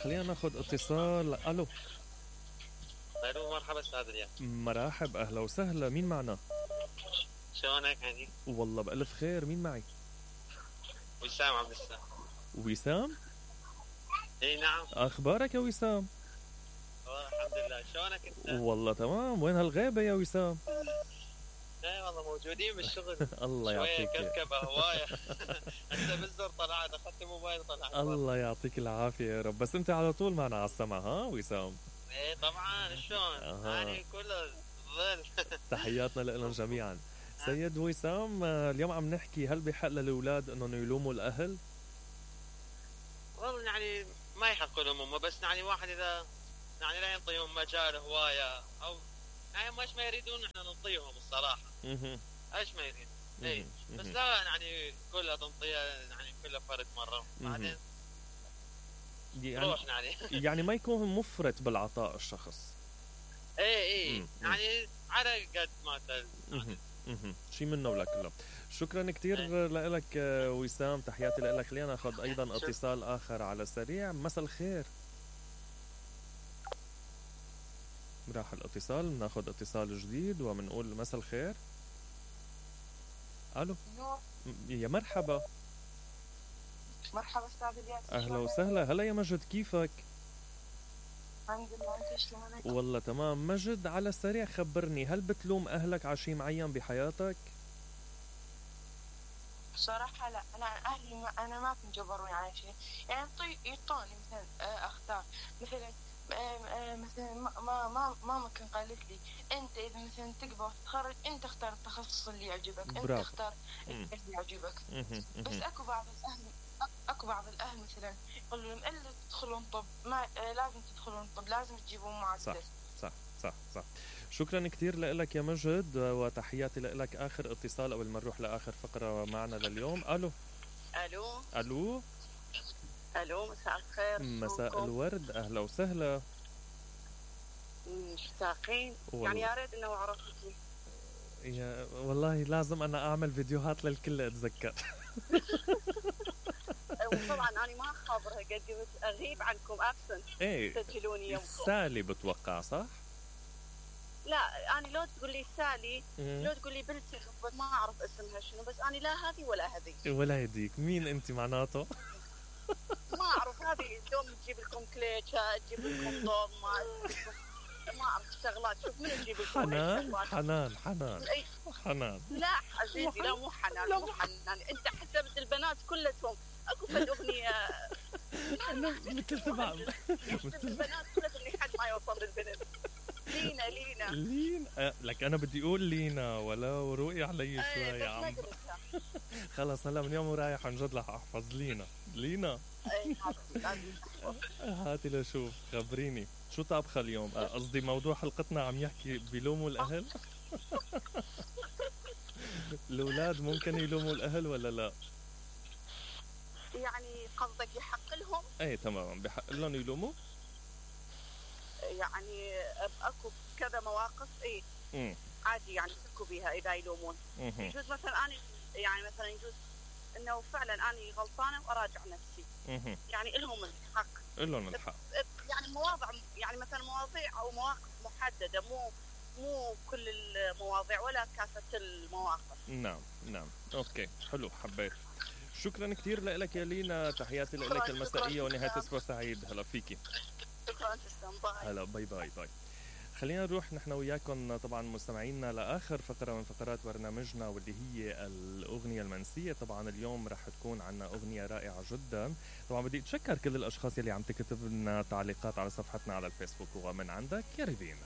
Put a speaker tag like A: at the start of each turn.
A: خلينا ناخذ اتصال. الو.
B: الو مرحبا استاذ الياس.
A: مرحب، اهلا وسهلا، مين معنا؟
B: شلونك عزيز؟
A: والله بألف خير، مين معي؟
B: وسام عبد السلام.
A: وسام؟
B: اي نعم.
A: اخبارك يا وسام؟
B: والله الحمد لله، شلونك انت؟
A: والله تمام، وين هالغيبة يا وسام؟
B: اي والله موجودين بالشغل.
A: الله يعطيك
B: شوية كركبة هواية. هسه بالزر طلعت، اخذت الموبايل طلعت.
A: الله يعطيك العافية يا رب، بس انت على طول معنا على السمع ها وسام؟
B: ايه طبعا، شلون؟ يعني كله ظل.
A: تحياتنا لهم جميعا. سيد وسام، اليوم عم نحكي هل بحق للأولاد انهم يلوموا الأهل؟
B: والله يعني ما يحق لهم هم، بس يعني واحد اذا يعني لا ينطيهم مجال هواية او يعني مش ما يريدون احنا نعطيهم الصراحة. ايش ما يريد. اي بس لا يعني كلها تنطيها يعني كلها فرد مرة بعدين روحنا عليه.
A: يعني ما يكون مفرط بالعطاء الشخص.
B: اي يعني على قد ما
A: شي منه ولا كله. شكرا كتير لك وسام، تحياتي لك. خلينا ناخذ ايضا اتصال اخر على السريع. مساء الخير. راح الاتصال، ناخذ اتصال جديد وبنقول مساء الخير. الو. يا مرحبا.
C: مرحبا استاذ الياس.
A: اهلا وسهلا. هلا يا مجد، كيفك؟
C: الحمد لله، انت شلونك؟
A: والله تمام. مجد، على السريع خبرني، هل بتلوم اهلك على شيء معين بحياتك؟
C: بصراحة لا، انا اهلي انا ما كنت جبروني على شيء، يعني يعطوني مثلا اختار مثلا مثلا ما كان قالت لي انت اذا مثلا تقبل تتخرج انت اختار التخصص اللي يعجبك، انت اختار اللي يعجبك. بس اكو بعض الاهل مثلا يقولوا لهم الا تدخلون طب ما لازم تدخلون طب، لازم تجيبون معدل.
A: صح. شكرا كتير لك يا مجد وتحياتي لك. اخر اتصال قبل ما نروح لاخر فقرة معنا لليوم. الو.
C: مساء الخير.
A: مساء الورد، اهلا وسهلا.
C: مشتاقين يعني، يا ريت انه عرفتي.
A: والله لازم انا اعمل فيديوهات للكل اتذكر.
C: وطبعا انا ما خابرها قد اغيب عنكم ابسنت. تسجلوني يوم
A: سالي بتوقع صح؟
C: لا انا لو تقول لي سالي لو تقول لي بنتي ما اعرف اسمها شنو، بس انا لا هذه ولا هذه
A: ولا هذيك. مين انت معناته؟
C: ما اعرف. هذه دوم تجيب لكم كليتشة، تجيب لكم ضوء، ما اعرف شغلات. شوف من تجيب لكم
A: حنان.
C: لا عزيزي، لا مو حنان. انت حسبت البنات كلهم اكو فد اغنيه
A: مثل تبع
C: البنات كلهم اللي حد ما يوصل للبنت. لينا
A: لك انا بدي اقول لينا ولا وروقي علي شوي يا عم. خلص هلا من يوم ورايح عن جد رح احفظ لينا. هاتي لشوف، خبريني شو طابخه اليوم؟ قصدي موضوع حلقتنا عم يحكي بيلوموا الاهل. الاولاد ممكن يلوموا الاهل ولا لا؟
C: يعني قصدك يحق لهم؟
A: ايه تمام، بحق لهم يلوموا.
C: يعني اكو كذا مواقف عادي يعني يحكوا بيها اذا يلومون. يجوز مثلا انا يعني مثلا يجوز انه فعلا انا غلطانه وأراجع نفسي. يعني لهم الحق. يعني يعني مثلا مواضيع او مواقف محدده، مو كل المواضيع ولا كافه المواقف.
A: نعم اوكي حلو، حبيت. شكرا كثير لك يا لينا، تحياتي لك المسائيه ونهايه اسبوع سعيد. هلا فيكي.
C: شكرا تسلم.
A: هلا باي. خلينا نروح نحن وياكم طبعا مستمعينا لاخر فقره من فقرات برنامجنا، واللي هي الاغنيه المنسيه. طبعا اليوم رح تكون عنا اغنيه رائعه جدا. طبعا بدي اتشكر كل الاشخاص اللي عم تكتب لنا تعليقات على صفحتنا على الفيسبوك، ومن عندك يا ريفين.